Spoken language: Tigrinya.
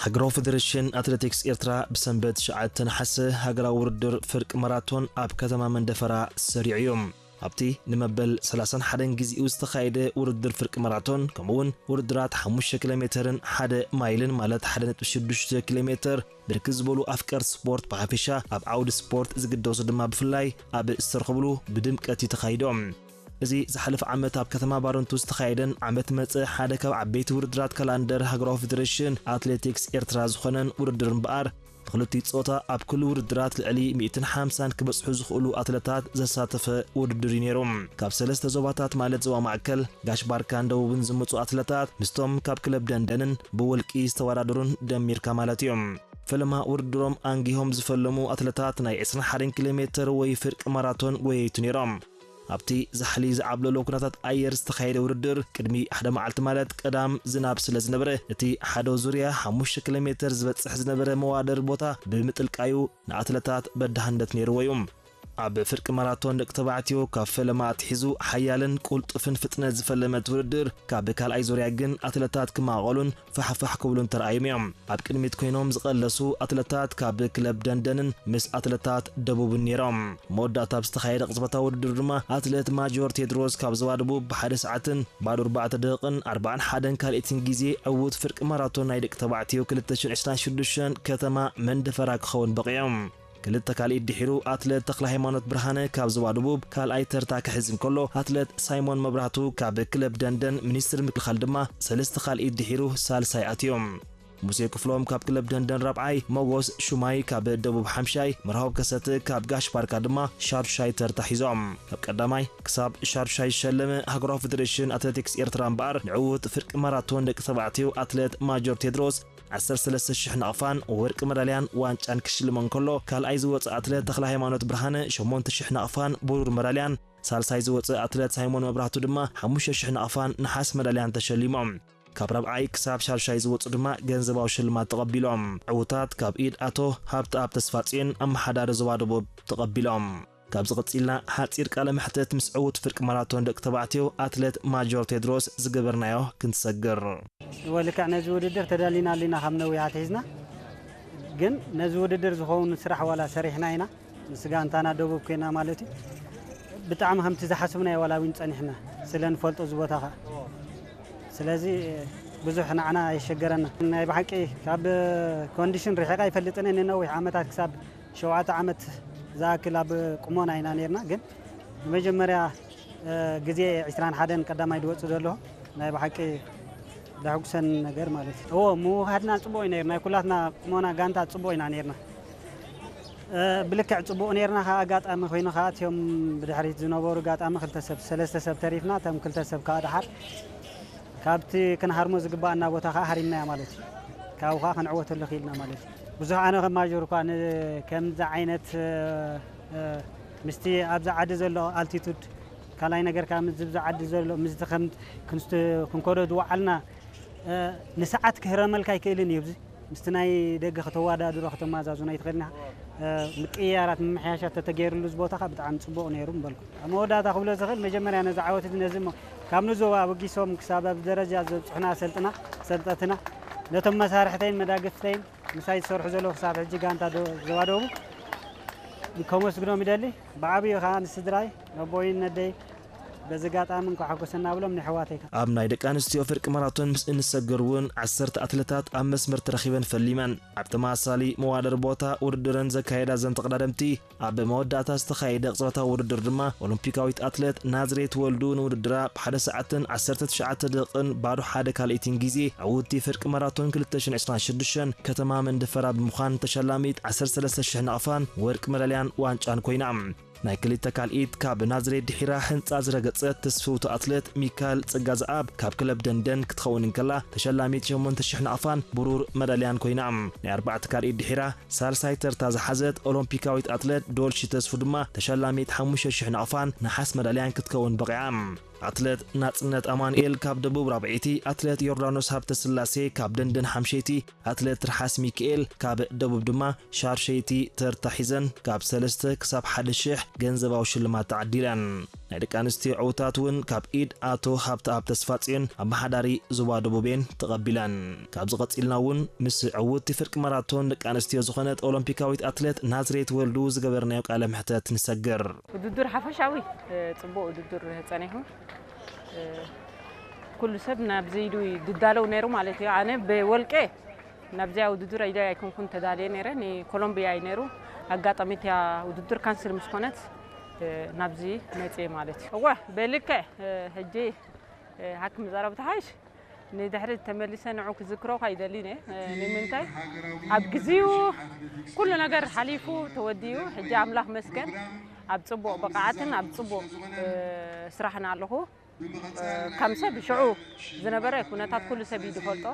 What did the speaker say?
ሃገራዊ ፌደሬሽን ኣትሌቲክስ ኤርትራ ብሰንበት ትሽዓተ ነሓሰ ሃገራዊ ውድድር ፍርቂ ማራቶን ኣብ ከተማ መንደፈራ ሰሪዑ እዩ። ኣብቲ ንመበል ሰላሳን ሓደን ግዜኡ ዝተኻየደ ውድድር ፍርቂ ማራቶን፣ ከምኡ'ውን ውድድራት ሓሙሽተ ኪሎ ሜተርን ሓደ ማይልን፣ ማለት ሓደ ነጥቢ ሽዱሽተ ኪሎ ሜተር፣ ብርክት ዝበሉ ኣፍቀርቲ ስፖርት ብሓፈሻ፣ ኣብ ዓውዲ ስፖርት ዝግደሱ ድማ ብፍላይ ኣብ ዝተረኸብሉ ብድምቀት እዩ ተኻይዶም። እዚ ዝሓለፈ ዓመት ኣብ ከተማ ባረንቱ ዝተኻየደን ዓመት መጸ ሓደ ካብ ዓበይቲ ውድድራት ካላንደር ሃገራዊ ፌደሬሽን ኣትሌቲክስ ኤርትራ ዝኾነን ውድድር እምበኣር፣ ብክልቲኡ ጾታ ኣብ ኩሉ ውድድራት ልዕሊ ሚእትን ሓምሳን ክበጽሑ ዝኽእሉ ኣትለታት ዘሳተፈ ውድድር እዩ ነይሩ። ካብ ሰለስተ ዞባታት፣ ማለት ዞባ ማእከል፣ ጋሽ ባርካን ደቡብን ዝመጹ ኣትለታት ምስቶም ካብ ክለብ ደንደንን ብውልቂ ዝተወዳደሩን ደሚርካ ማለት እዩ። ፈለማ ውድድሮም ኣንጊሆም ዝፈለሙ ኣትለታት ናይ ዕስራን ሓደን ኪሎ ሜተር ወይ ፍርቂ ማራቶን ጎየይቱ ነይሮም። ኣብቲ ዛሕሊ ዝዓብለሎ ኩነታት ኣየር ዝተኻየደ ውድድር፣ ቅድሚ ሓደ መዓልቲ ማለት ቀዳም ዝናብ ስለ ዝነበረ፣ እቲ ሓደ ዙርያ ሓሙሽተ ኪሎ ሜተር ዝበጽሕ ዝነበረ መዋደር ቦታ ብምጥልቃዩ ንኣትለታት በዳህነት ነይርዎ እዩ። ኣብ ፍርቂ ማራቶን ደቂ ተባዕትዮ ካብ ፈለማ ኣትሒዙ ሓያልን ቁልጡፍን ፍጥነት ዝፈለመት ውድድር፣ ካብ ካልኣይ ዙርያ ግን ኣትለታት ክማቐሉን ፋሕፋሕ ክብሉን ተራእዮም እዮም። ኣብ ቅድሚት ኮይኖም ዝቐለሱ ኣትለታት ካብ ክለብ ደንደንን ምስ ኣትለታት ደቡብን ነይሮም። መወዳእታ ኣብ ዝተኻየደ ቅጽበታዊ ውድድር ድማ ኣትለት ማጆር ቴድሮስ ካብ ዞባ ደቡብ ብሓደ ሰዓትን ባዶ ኣርባዕተ ደቂቕን ኣርባዓን ሓደን ካልኢትን ግዜ ዕዉት ፍርቂ ማራቶን ናይ ደቂ ተባዕትዮ ክልተ ሽሕን ዕስራን ሽዱሽተን ከተማ መንደፈራ ክኸውን በቒዑ። ክልተ ካልኢት ድሒሩ ኣትለት ተኽለ ሃይማኖት ብርሃነ ካብ ዞባ ደቡብ ካልኣይ ተርታ ክሕዝ እንከሎ፣ ኣትለት ሳይሞን መብራህቱ ካብ ክለብ ደንደን ሚኒስትሪ ምክልኻል ድማ ሰለስተ ካልኢት ድሒሩ ሳልሳይ ኣትዮም። ሙሴ ክፍሎም ካብ ክለብ ደንደን ራብዓይ፣ ሞጎስ ሹማይ ካብ ደቡብ ሓምሻይ፣ መርሃዊ ከሰተ ካብ ጋሽ ባርካ ድማ ሻዱሻይ ተርታ ሒዞም። ካብ ቀዳማይ ክሳብ ሻዱሻይ ዝሸለመ ሃገራዊ ፌደሬሽን ኣትሌቲክስ ኤርትራ እምበኣር፣ ንዕዉት ፍርቂ ማራቶን ደቂ ተባዕትዮ ኣትሌት ማጆር ቴድሮስ ዓሰርተ ሰለስተ ሽሕ ናቕፋን ወርቂ መዳልያን ዋንጫን ክሽልሞ እንከሎ፣ ካልኣይ ዝወጸ ኣትሌት ተኽለ ሃይማኖት ብርሃነ ሸሞንተ ሽሕ ናቕፋን ብሩር መዳልያን፣ ሳልሳይ ዝወጸ ኣትሌት ሳይሞን መብራህቱ ድማ ሓሙሽተ ሽሕ ናቕፋን ነሓስ መዳልያን ተሸሊሞም። ካብ ራብዓይ ክሳብ ሻዱሻይ ዝወጹ ድማ ገንዘባዊ ሽልማት ተቐቢሎም። ዕዉታት ካብ ኢድ ኣቶ ሃብተኣብ ተስፋጽዮን፣ ኣመሓዳሪ ዞባ ደቡብ፣ ተቐቢሎም። ካብዚ ቀጺልና ሓጺር ቃለ መሕትት ምስ ዕዉት ፍርቂ ማራቶን ደቂ ተባዕትዮ ኣትሌት ማጆር ቴድሮስ ዝገበርናዮ ክንትሰግር። እወ፣ ልክዕ ነዚ ውድድር ተዳሊና ኣሊና ካብ ነዊሕ ኣትሒዝና፣ ግን ነዚ ውድድር ዝኸውን ስራሕ ዋላ ሰሪሕና ኢና፣ ምስ ጋንታና ደቡብ ኮይና ማለት እዩ። ብጣዕሚ ከምቲ ዝሓስብናዮ ዋላ እውን ጸኒሕና፣ ስለ ንፈልጦ እዚ ቦታ ኸኣ። ስለዚ ብዙሕ ንዓና ኣየሸገረና። ናይ ብሓቂ ካብ ኮንዲሽን ርሒቐ ኣይፈልጥን እየ፣ ንነዊሕ ዓመታት ክሳብ ሸውዓተ ዓመት ዝኣክል ኣብ ቁሞና ኢና ነይርና፣ ግን ንመጀመርያ፣ እ፣ ግዜ ዕስራን ሓደን ቀዳማይ ዝወጽእ ዘሎ ናይ ብሓቂ ዘሐጉሰን ነገር ማለት እዩ። እዎ፣ ምውሃድና ጽቡቕ እዩ ነይሩ። ናይ ኩላትና ቁሞና ጋንታ ጽቡቕ ኢና ነይርና። እ፣ ብልክዕ ጽቡቕ ነይርና። ከኣ ኣጋጣሚ ኮይኑ ከኣ እቲኦም ብድሕሪት ዝነበሩ ኣጋጣሚ ክልተ ሰብ፣ ሰለስተ ሰብ ተሪፍና፣ እቶም ክልተ ሰብ ከኣ ደሓር ካብቲ ክንሃርሞ ዝግባኣና ቦታ ከኣ ሃሪምናያ ማለት እዩ። ካብኡ ከኣ ክንዕወተሉ ክኢልና ማለት እዩ። ብዙሕ ኣነ ከም ማጆር እኳ ን-፣ ከምዚ ዓይነት፣ እ፣ እ፣ ምስቲ ኣብዚ ዓዲ ዘሎ ኣልቲቱድ፣ ካልኣይ ነገር ከኣ ምስዚ ኣብዚ ዓዲ ዘሎ፣ ምስቲ ከም ክንስት-፣ ክንከዶ ዝወዓልና፣ እ፣ ንሰዓት ክህረመልካ ኣይክእልን እዩ። ኣብዚ ምስቲ ናይ ደገ ከተወዳድሮ፣ ከተመዛዝኖ ኣይትኽእልን ኢኻ። እ፣ ምቅይያራት፣ ምምሕያሻት ተተገይሩሉ፣ እዚ ቦታ ከኣ ብጣዕሚ ጽቡቕ ነይሩ ምበልኩ። ኣብ መወዳእታ ክብሎ ዝኽእል፣ መጀመርያ ነዚ ዓወት እዚ፣ ነዚ እሞ ካብ ንዞባ ኣበጊሶም ክሳብ ኣብዚ ደረጃ ዘብጽሑና ኣሰልጥና፣ ኣሰልጠትና፣ ነቶም መሳርሕተይን መዳግፍተይን ምሳይ ዝሰርሑ ዘለዉ ክሳብ ሕጂ ጋንታ ዶ-፣ ዞባ ደቡብ ከመስግኖም ይደሊ። ብዓብዩ ከኣ ንስድራይ፣ ነቦይን ነደይ በዚ ኣጋጣሚ እንኳዕ ሓጎሰና ብሎም፣ ንሕዋተይ ከኣ። ኣብ ናይ ደቂ ኣንስትዮ ፍርቂ ማራቶን ምስ እንሰግር እውን ዓሰርተ ኣትለታት ኣብ መስመር ተረኺበን ፈሊመን። ኣብ ተመሳሳሊ መዋደር ቦታ ውድድረን ዘካየዳ እዘን ተቐዳደምቲ፣ ኣብ መወዳእታ ዝተኻየደ ቅጽበታዊ ውድድር ድማ ኦሎምፒካዊት ኣትሌት ናዝሬት ወልዱ ንውድድራ ብሓደ ሰዓትን ዓሰርተ ትሽዓተ ደቂቕን ባዶ ሓደ ካልኢትን ግዜ ዕውቲ ፍርቂ ማራቶን ክልተ ሽሕን ዕስራን ሽዱሽተን ከተማ መንደፈራ ብምዃን ተሸላሚት ዓሰርተ ሰለስተ ሽሕ ናቕፋን ወርቂ መዳልያን ዋንጫን ኮይና። ናይ ክልተ ካልኢት ካብ ናዝሬት ድሒራ ህንጻ ዝረገጸት ትስፍውቲ ኣትሌት ሚካል ጽጋዝኣብ ካብ ክለብ ደንደን ክትኸውን እንከላ፣ ተሸላሚት ሸሞንተ ሽሕ ናቕፋን ብሩር መዳልያን ኮይና። ናይ ኣርባዕተ ካልኢት ድሒራ ሳልሳይ ተርታ ዝሓዘት ኦሎምፒካዊት ኣትሌት ዶልሺ ተስፉ ድማ ተሸላሚት ሓሙሽተ ሽሕ ናቕፋን ነሓስ መዳልያን ክትከውን በቒዓ። ኣትሌት ናጽነት ኣማኑኤል ካብ ደቡብ ራብዐይቲ፣ ኣትሌት ዮርዳኖስ ሃብተስላሴ ካብ ደንደን ሓምሸይቲ፣ ኣትሌት ትርሓስ ሚካኤል ካብ ደቡብ ድማ ሻርሸይቲ ተርታ ሒዘን ካብ ሰለስተ ክሳብ ሓደ ሽሕ ገንዘባዊ ሽልማት ተዓዲለን። ናይ ደቂ ኣንስትዮ ዕውታት እውን ካብ ኢድ ኣቶ ሃብተኣብ ተስፋጽዮን ኣመሓዳሪ ዞባ ደቡብ እየን ተቐቢለን። ካብዚ ቀጺልና እውን ምስ ዕውቲ ፍርቂ ማራቶን ደቂ ኣንስትዮ ዝኾነት ኦሎምፒካዊት ኣትሌት ናዝሬት ወልዱ ዝገበርናዮ ቃለ ምሕተት ንሰግር። ውድድር ሓፈሻዊ ጽቡቕ ውድድር ጸኒሑ። ኩሉ ሰብ ናብዚ ኢዱ ድዳለው ነይሩ ማለት እዩ። ኣነ ብወልቄ ናብዚኣ ውድድር ኢደ ኣይኮንኩን ተዳልየ ነይረ። ንኮሎምቢያ እዩ ነይሩ። ኣጋጣሚ እቲያ ውድድር ካንስል ምስ ኮነት ናብዚ መፅየ ማለት እዩ። እወ ብልክዕ ሕጂ ሓኪም ዘረብ ተሓይሽ ንድሕሪ ተመሊሰ ንዑ ክዝክሮ ካይደሊ ነ ንምንታይ ኣብ ግዜኡ ኩሉ ነገር ሓሊፉ ተወዲኡ ሕጂ ኣምላኽ መስገን ኣብ ጽቡቕ ብቕዓትን ኣብ ጽቡቕ ስራሕን ኣለኹ። ከም ሰብ ሽዑ ዝነበረ ኩነታት ኩሉ ሰብ እዩ ዝፈልጦ።